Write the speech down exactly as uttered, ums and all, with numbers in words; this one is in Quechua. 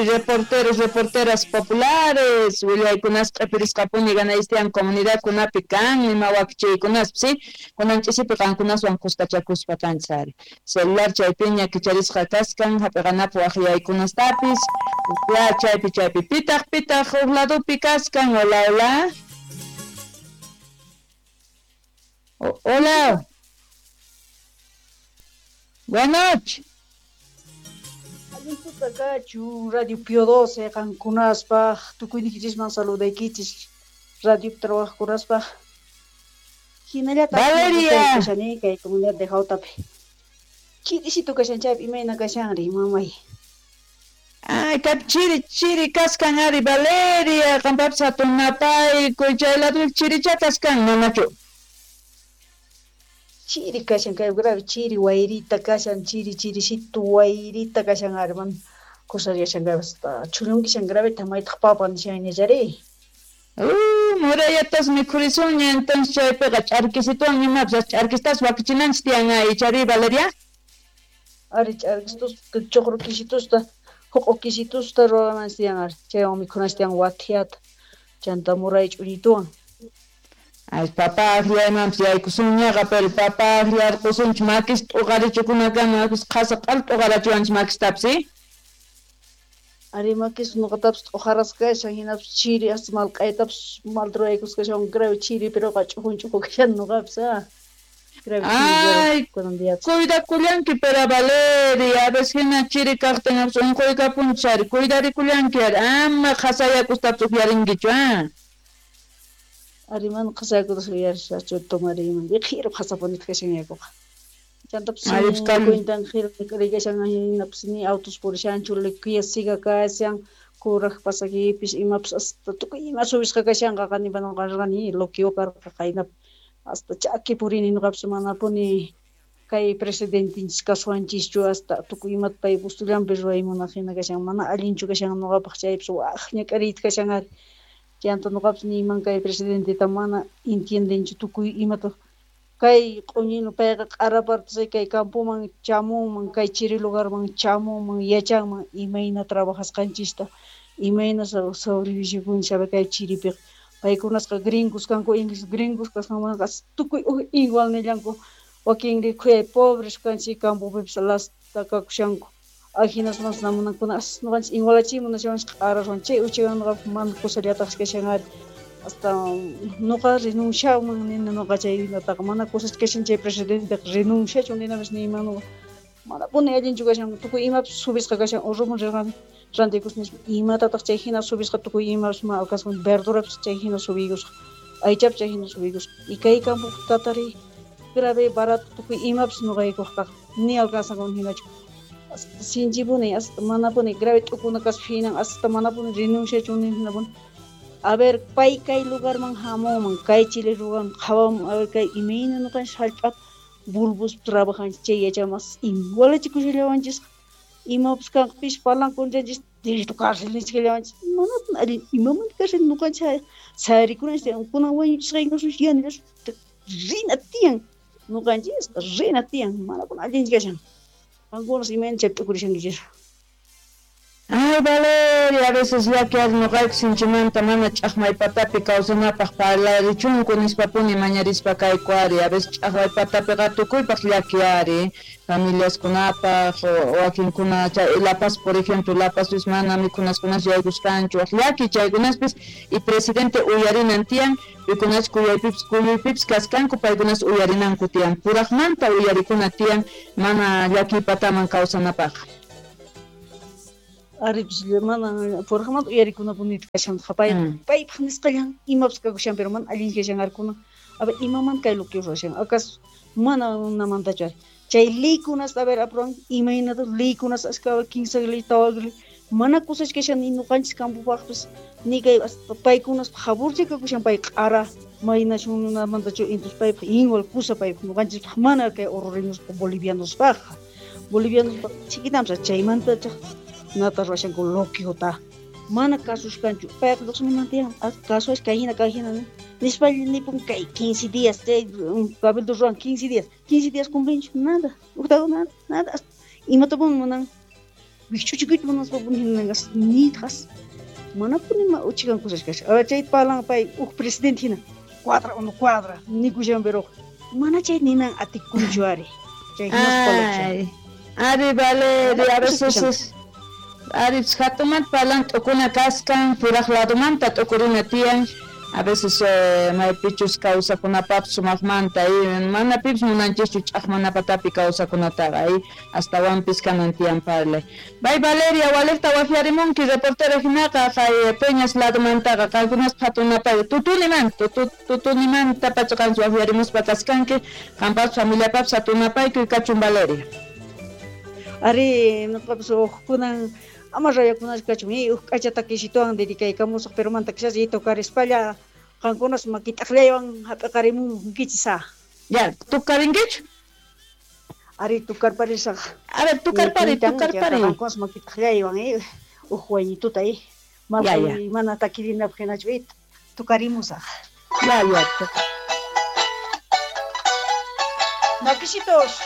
Reporteros, reporteras populares, willaykunas q'ipirisqapuni ganaystian comunidadkunapi kan ima wakichiykunaspi, sí, kunan ch'isipi qankunaswan kuskachakuspa kanchis ari. Celular chaypiña kicharisqa kaskan hap'iqanapaq waqyaykunastapis, ya chaypi chaypi pitaq pitaq huk ladopi kaskan. Hola, hola. Hola. Buenas noches. Allintuta kachu Radio Pío doce qankunaspaq tukuyniykichisman saludaykichis radio trabajkunaspaq hinallataq Valeria kashani kay comunidad de Jautapi chirisito kashan chaypi imayna kashanri mamay. Ay, kap chiri chiri kaskan ari Valeria qampapis hatun napaykuy chay lado chiricha kaskan manachu. Chiri kashan kay grave chiri wayrita kashan chiri chirisitu wayrita kashan ari man kusariashan grave hasta chulunkishan grave tamaytaq papa nishan ñachari. Uh, murayatas mikhurisunña entonces chaypiqa ch'arkisituwan imapis ch'arkistas wakichinanchis tiyan ay chari Valeria. Ari ch'arkisitus chuqru kisitusta huq'u kisitusta ruwananchis tiyan ari chaywan mikhunanchis tiyan wathiata chanta muray ch'uñituwan. Ay, papa akllaymanpis yaykusunñaqa, pero papa akllarqusunchik makis t'uqarichukunakama qhasa q'al t'uqarachiwanchik makistapis, ¿sí? Ari makis nuqatapis t'uqarasqa kashan hinapis chiri hasta malq'aytapis malta ruraykusqa kashan grave chiri pero ch'ujun ch'uju kashan nuqapis ah. Grave chiri Ay, kunan diapis. Cuidakullanki pero Valeria, a veces hina chiri kaqtin unquykapunchis ari, cuidarikullanki ari, ama qhasayakustapis upyarinkichu, ah. Ari mana qhasayakutas uyarishachu tomariyman qhiru qhasapunita kashan yakuqa. Chantapis Ari kan cuentan qhiru rikashan hinapis ni autos purishanchu liquiyasiga kashan kuraq pasakipis imapis hasta tukuy ima subisqa kashanqa qanipa nuqa rirqani loqueo karqa qaynap hasta chaki purini nuqapis manapuni kay presidentinchis kasuwanchischu hasta tukuy imata pay gustullanpi ruway munaq hina kashan mana allinchu kashan nuqapaq chaypis waq ñak'ariyta kashan ari. Chanta nuqapis niyman kay presidenteta mana entiendenchu tukuy imata kay q'uñinu payqa q'arapartas kay campoman chamunman kay chiri lugarman chamunman yachanman imayna trabajasqanchista imayna sobrevivikunchis kay chiripiqa paykunasqa gringos kanku ingles gringos kasqanmanqa tukuy igual nillanku wakinri khuyay pobres kanchik campopipis lasta kakushanku ajinasmanpas namunankuna as nuqanchis igualachimun nishawanchis q'araswan chay uchawan nuqapaq mana kusallataqsi kashan ari hasta nuqa renunciaman nini nuqa chaynataqa mana kusach kashan chay presidenteqa renunciachun ninapis niyman nuqa manapuni allinchu kashan tukuy imapis subisqa kashan urruman rirqani rantikus nispa imatataq chay hina subisqa tukuy imapis ma alcanzan verdurapis chay hina subiykusqa aychapis chay hina subiykusqa y kay campo tatari grave barato tukuy imapis nuqaykuqtaqa ni alcanzan hinachu hasta sinchipuni hasta manapuni grave t'ukuna kaspa hinan hasta manapuni renunciachun hinapuni a ver pay kay lugarman hamunman kay Chile lugarman qhawamun a ver kay imayna nuqanchis hallp'ata bulbus trabajanchis chay yachamas igualachikushallawanchisqa imapas kanqa pis parlankunchanchis directo cárcel nichkallawanchis manapuni allin imamanta cárcel nuqanchis sayarikunanchis tiyan kunan wañuchisqaykunasun yanallas rina tiyan nuqanchisqa rina tiyan manapuni allinchu kashan qankunas imayna chaypi t'ukurishankichis. Ay, Valeria, a veces llaki ari nuqayku sinchimanta mana ch'aqmay patapi kawsanapaq parlarichunku nispapuni mañarispa kayku ari, a veces ch'aqmay patapiqa tukuypaq llaki ari, familiaskunapaq, wakinkuna chay La Paz, por ejemplo, La Pazpis mana mikhunaskunas yaykusqanchu, waq llaki chaykunaspis y presidente uyarinan tiyan, pikunas kuyaypipis kuyuypipis kaskanku paykunas uyarinanku tiyan, puraqmanta uyarikuna tiyan mana llakiy pataman kawsanapaq. Aripis mana puraqmanta uyarikunapuni kashan pay paypaq nisqallan imapas kakushan pero mana allin kashan arkuna a ver imamanta kay loqueo ruwashan acaso mana namantachu ari chay leykunas a ver aprueban imaynata leykunas ashka kinsa ley tawa ley mana kusach kashan ni nuqanchis campopaqpis ni kay hasta paykunas jaburcha kakushan pay q'ara maynachunamantachu entonces paypaq igual kusa paypaq nuqanchispaq mana kay oruriñospa bolivianospaqqa bolivianospaq chiquitamsa chaymanta nata ruwashanku loqueota mana kasushkanchu payqa lluqsimunan tiyan kasuash kay hina kay hina nispa nipun kay quince días chay cabildo ruwan quince días quince días cumplinchu nada uqtaqa nada nada imatapuni munan Wikch'uchikuyta munaspapuni hina niytaqas manapuni ma uchikan cosas kashan. A ver, chayta parlan pay huk presidente hina cuadra o no cuadra nikushan pero mana chay ninan atikunchu ari. Chay hinas parlakushan. Ay, ari Valeria, a veces es ari hatunmanta parlan t'ukuna kaskan puraq ladumanta t'ukurina tiyan. A veces eh, maypichus kawsakunapapis sumaqmanta y mana pipis munanchischu ch'aqmanapatapi kawsakunataqa y astawanpis kanan tiyan parlay. Bay Valeria, waliqta waqyarimunki reportera hinaqa kay Peñas ladumantaqa qankunas hatunapay tutunimanta tutunimanta pacha qanchis waqyarimuspa kaskanki qanpapis familiapapis hatunapaykuy kachun Valeria. Ari nuqapas hukkunan ama rayakunachu kachun y huk k'acha takisituwan dedicaykamusaq pero manta kishas y tocarispalla qankunas makit'aqllaywan hap'iqarimunkichis ah. Ya, tukarinkichu? Ari tukarparisaq. A ver, tukarpari, tukarpari. Qankunas makit'aqllaywan eh huk waynituta eh Ya, ya. mana takirinapaq hinachu eh tukarimusaq. Ya, ya. Makisitos.